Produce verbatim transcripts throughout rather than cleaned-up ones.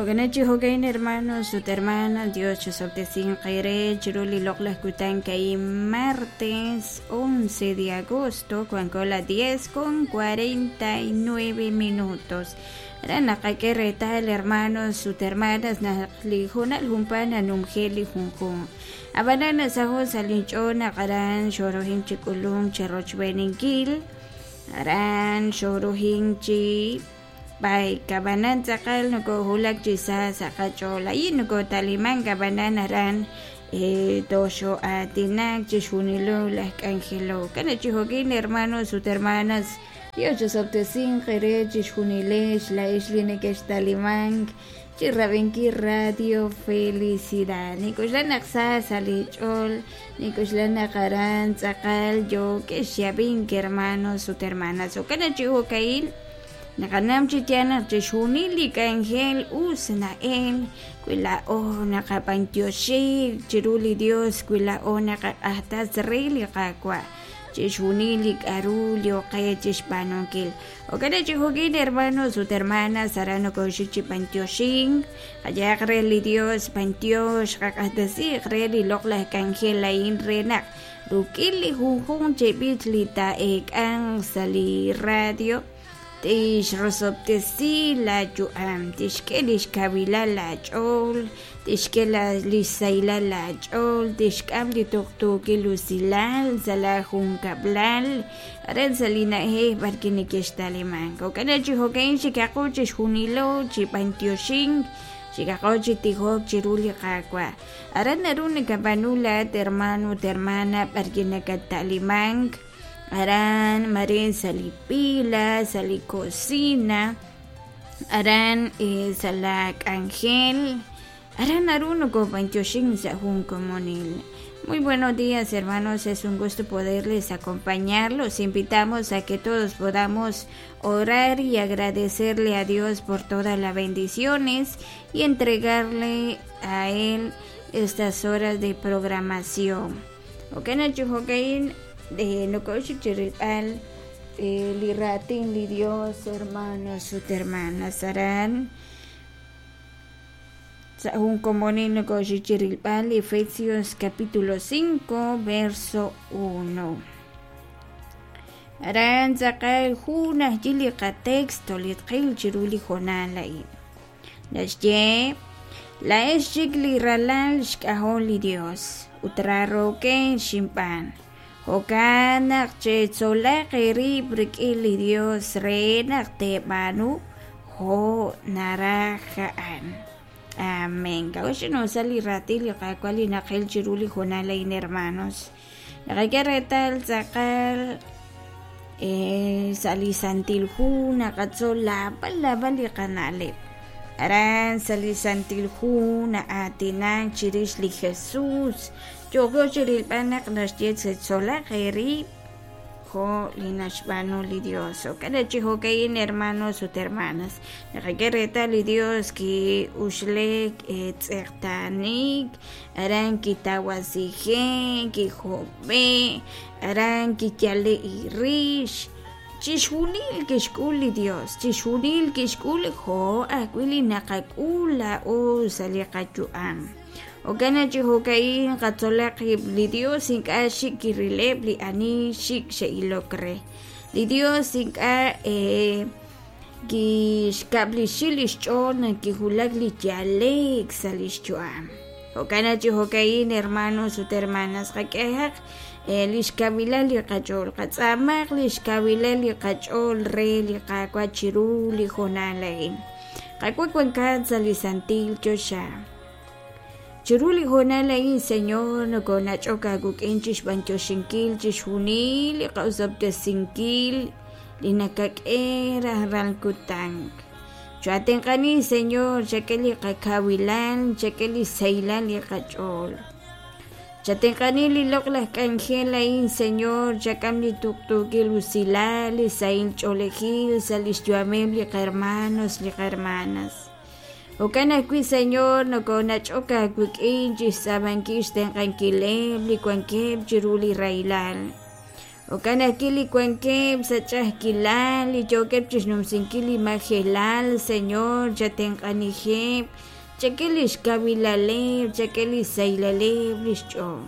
Jo'kanachi jo'kain hermanos ut hermanas, Dios chisob'tesinq eere chiru li loq'laj kutan ka'in martes once de agosto wanko la diez con cuarenta y nueve minutos. Aran naqak'e reetal hermanos ut hermanas naq li hoonal junpaa nanumje li junjunq. Ab'anan nasaho' sa' linch'ool naq aran xorojin chi k'ulunk cherochb'eeninkil, aran xorojin chi bay kabanan tz'aqal nokohulak chi sa sa' qach'ool ayi nokotaliman kabanan aran eh, toxo'aatinak chixjunilo laj k'anjelo. Kana chi jo'kin hermanos ut hermanas, Dios chisob'tesinq eere chixjunilex la'ex li nekextalimank chi rab'inkil Radio Felicidad. Nik'uxla naq sa sa' li ch'ool, nik'uxla naq aran tz'aqal yo'kex xyab'ink hermanos ut hermanas. Jo'kan chi jo'ka'in naqanam chi yaal naq chixjunil li k'anjel us na'el wi la'o naqab'antioxik chiru li Dios wi la'o naqaq'ajtas re li Qaawa' chixjunil li k'aru lyoqe chixb'aanunkil. Jo'kan chi jo'kin hermanos ut hermanas aran nokoxik chi b'antioxink qayaq re li Dios b'antiox qaq'ajtasiq re li loq'laj k'anjel a'in re naq ruk'in li junjunq chi b'ich li taa'eek'anq sa' li radio tixrosob'tesi la yu'am, tixk'e lix kawilal la ch'ool, tixk'e lix saylal la ch'ool, tixk'am li tuqtuukil usilal sa' la junkab'lal, aran sa' li na'ajej b'arki nekextalimank. Jo'kan chi jo'kan xikaqo chixjunilo chi b'antioxink, xikaqo chi tijok chiru li Qaawa'. Aran naru nakab'aanu laat hermano ut hermana b'arki nakatalimank. Aran marin sa' li pila, sa' li cocina, aran eh, sa' la k'anjel, aran naru nokob'antioxin sa' jun komonil. Muy buenos días, hermanos, es un gusto poderles acompañar. Los invitamos a que todos podamos orar y agradecerle a Dios por todas las bendiciones y entregarle a Él estas horas de programación. Ok, Nacho, jo'kain de nokoxik chirilb'al li raatin li Dios, hermanos ut hermanas, aran sa' jun komonil nokoxik chirilb'al Efesios capítulo cinco verso uno. Aran tz'aqal jun ajyi li qatexto li tqil chiru li hoonal a'in. Naxye la'ex chik li ralal xk'ajol li Dios ut raaroken xinb'aan. Jo'kan naq chetzolaq eerib' rik'in li Dios re naq teeb'aanu jo' naraj a'an. Amén. K'a'uxl sa' li raatin li Qaawa' li naqil chiru li hoonal a'in, hermanos. Naqak'e reetal tz'aqal eh, sa' li Santil Hu naqatzol laab'al laab'al li qana'leb'. Aran sa' li Santil Hu na'aatinak chirix li Jesús. Yo'ko chirilb'al naq naxye chetzolaq eerib' jo' li naxb'aanu li Dios. Jo'kan chi jo'kain hermanos ut hermanas. Naqak'e reetal li Dios ki'uxlek tz'eqtaanik, aran kitawasije, kijob'e, aran kiyale irix. Chixjunil kixk'ul li Dios, chixjunil kixk'ul jo' ajwi' li naqak'ul la'o sa' li qayu'am. Jo'kan chi jo'kain qatzolaq li Dios ink'a' xik kirileb' li ani xik xe'ilok re. Li Dios ink'a' eh, kixkab'lixi li xch'ool naq kijulak li yaleek sa' li xyu'am. Jo'kan chi jo'kain hermanos ut hermanas qak'ehaq eh, li xkawilal li qach'ool, qatz'aamaq li xkawilal li qach'ool re li Qaawa' chiru li hoonal a'in. Qaawa' wankat sa' li santil choxa. Chiru li hoonal a'in, Señor, nokonach'ok aawik'in chixb'antioxinkil chixjunil li qa'usob'tesinkil li nakak'e rajlal kutan. Chuatenqani, Señor, chak'e li qakawilal, chak'e li saylal li qach'ool. Chatenqani li loq'laj k'anjel a'in, Señor, chak'am li tuqtuukil usilal, li sahil ch'oolejil sa' li xyu'ameb' li qahermanos, li qahermanas. Jo'kan ajwi', Señor, nokonach'ok aawik'in chixtz'aabankil xtenq'ankileb' li wankeb' chiru li rahilal. Jo'kan ajwi' li wankeb' sa' ch'a'ajkilal, li yookeb' chixnumsinkil li majelal, Señor, chatenq'anijeb', chak'e lix kawilaleb', chak'e li saylaleb' lix ch'ool.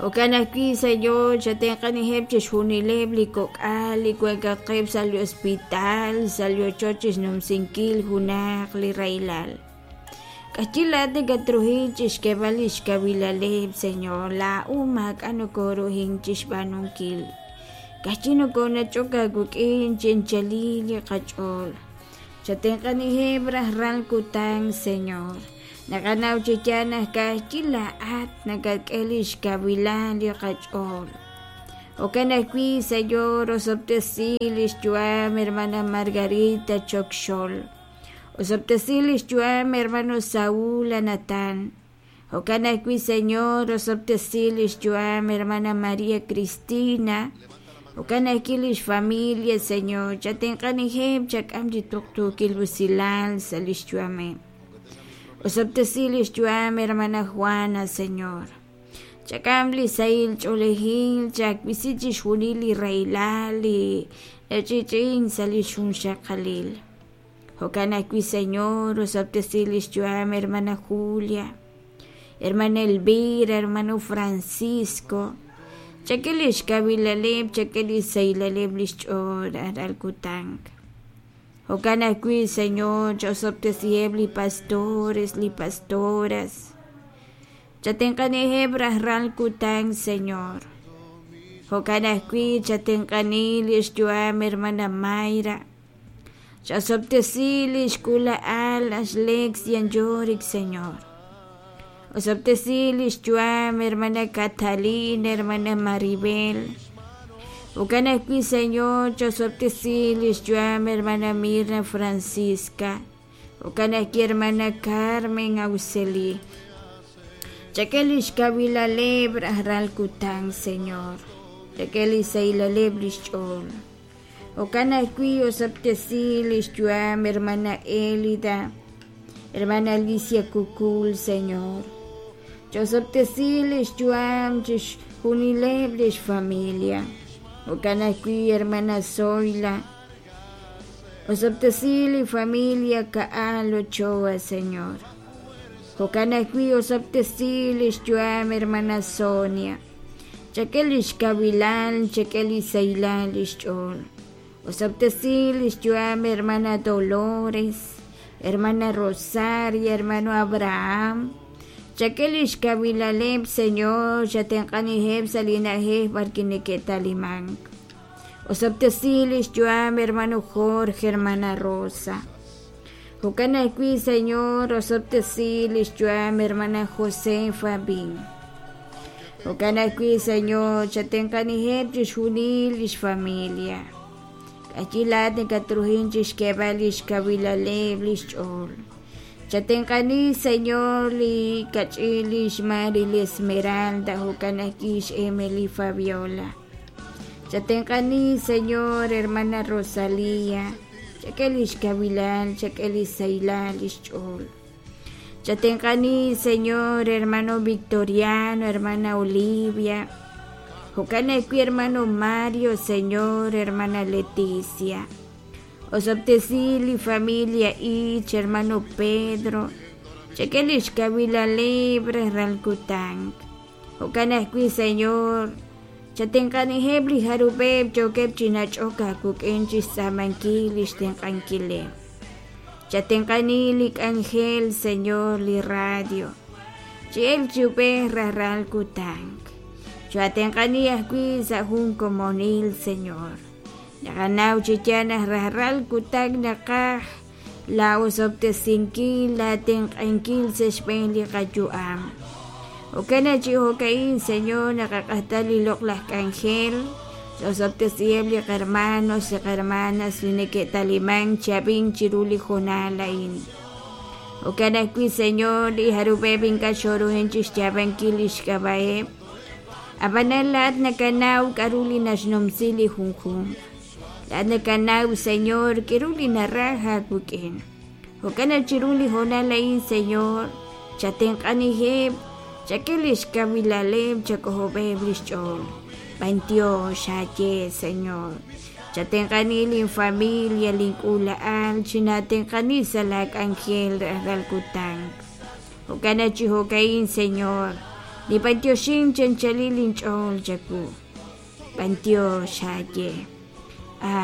Jo'kan ajwi', Señor, chatenq'anijeb' chixjunileb' li kok'al li wankaqeb' sa' li hospital, sa' li ochoch chixnumsinkil junaq li rahilal. K'axyi laa'at nakatruhin chixk'eeb'al lix kawilaleb', Señor, laa'u maak'a' nokoruhin chixb'aanunkil. K'axyi nokonach'ok aawik'in chinchalil li qach'ool. Chatenq'anijeb' rajlal kutan, Señor. Naqanaw chi yaal naq k'axyi laa'at nakak'e lix kawilal li qach'ool. Jo'kan ajwi', Señor, osob'tesi lix yu'am hermana Margarita Chokxol. Osob'tesi lix yu'am hermano Saúl Anatán. Jo'kan ajwi', Señor, osob'tesi lix yu'am hermana María Cristina. Jo'kan ajwi' lix familia, Señor, chatenq'anijeb' chak'am chi tuqtuukil usilal sa' lix yu'ameb'. Osob'tesi lix yu'am hermana Juana, Señor. Chak'am li sahil ch'oolejil, chawisi chixjunil li rahilal li nach'i'ch'i'in sa' lix junxaqalil. Jo'kan ajwi', Señor, osob'tesi lix yu'am hermana Julia, hermana Elvira, hermano Francisco. Chak'e lix kawilaleb', chak'e li saylaleb' lix ch'ool rajlal kutan. Jo'kan ajwi', Señor, ch'osob'tesiheb' li pastores, li pastoras. Chatenq'anijeb' rajlal kutan, Señor. Jo'kan ajwi', chatenq'ani lix yu'am hermana Mayra. Ch'osob'tesi lix k'ula'al ax Lex Yanyorik, Señor. Osob'tesi lix yu'am hermana Catalina, hermana Maribel. Jo'kan ajwi', Señor, ch'osob'tesi lix yu'am hermana Mirna Francisca. Jo'kan ajwi', hermana Carmen Auxeli. Chak'e lix kawilaleb' rajlal kutan, Señor. Chak'e li saylaleb' lix ch'ool. Jo'kan ajwi' osob'tesi lix yu'am hermana Elida, hermana Alicia Kukul, Señor. Ch'osob'tesi lix yu'am chixjunileb' lix familia. Jo'kan ajwi' hermana Zoila. Osob'tesi li familia Ka'al Ochoa, Señor. Jo'kan ajwi' osob'tesi lix yu'am hermana Sonia. Chak'e lix kawilal, chak'e li saylal lix ch'ool. Osob'tesi lix yu'am hermana Dolores, hermana Rosaria, hermano Abraham. Chak'e lix kawilaleb', Señor, chatenq'anijeb' sa' li na'ajej b'arwi' neke'talimank. Osob'tesi lix yu'am hermano Jorge, hermana Rosa. Jo'kan ajwi', Señor, osob'tesi lix yu'am hermana Josefa Bin. Jo'kan ajwi', Señor, chatenq'anijeb' chixjunil lix familia. K'axyi laa'at nakatruhin chixk'eeb'al lix kawilaleb' lix ch'ool. Chatenq'ani, Señor, li kach'il lix Mari li Esmeralda, jo'kan ajwi' ix Emily Fabiola. Chatenq'ani, Señor, hermana Rosalía. Chak'e lix kawilal, chak'e li saylal lix ch'ool. Chatenq'ani, Señor, hermano Victoriano, hermana Olivia. Jo'kan ajwi', hermano Mario, Señor, hermana Leticia. Osob'tesi li familia Ich, hermano Pedro. Chak'e lix kawilaleb' rajlal kutan. Jo'kan ajwi', Señor, chatenq'anijeb' li jarub'eb' yookeb' chi nach'ok aawik'in chixtz'aamankil lix tenq'ankileb'. Chatenq'ani li k'anjel, Señor, li radio. Chi'el chiub'ej rajlal kutan. Chatenq'ani ajwi' sa' jun komonil, Señor. Naqanaw chi yaal naq rajlal kutan naqaj la osob'tesinkil, la tenq'ankil sa' xb'een li qayu'am. Jo'kan chi jo'ka'in, Señor, naqaq'ajta li loq'laj k'anjel. Osob'tesiheb' li qarmanos, li qarmanas li neke'talimank chab'in chiru li jonal a'in. Jo'kan ajwi', Señor, li jarub'eb' ink'a' xoruhin chixyaab'ankil lix k'ab'a'eb'. Ab'anan laa'at nakanaw k'a'ru li naxnumsi li junjunq. Laa'at nakanaw, Señor, k'a'ru li naraj aawik'in. Jo'kan chiru li jonal a'in, Señor, chatenq'anijeb', chak'e lix kawilaleb', chak'ojob'eb' lix ch'ool. B'antiox aaye, Señor. Chatenq'ani lin familia, lin k'uula'al, chinatenq'ani sa' laa k'anjel rajlal kutan. Jo'kan chi jo'ka'in, Señor, nib'antioxin chanchalil inch'ool chawu. B'antiox aaye.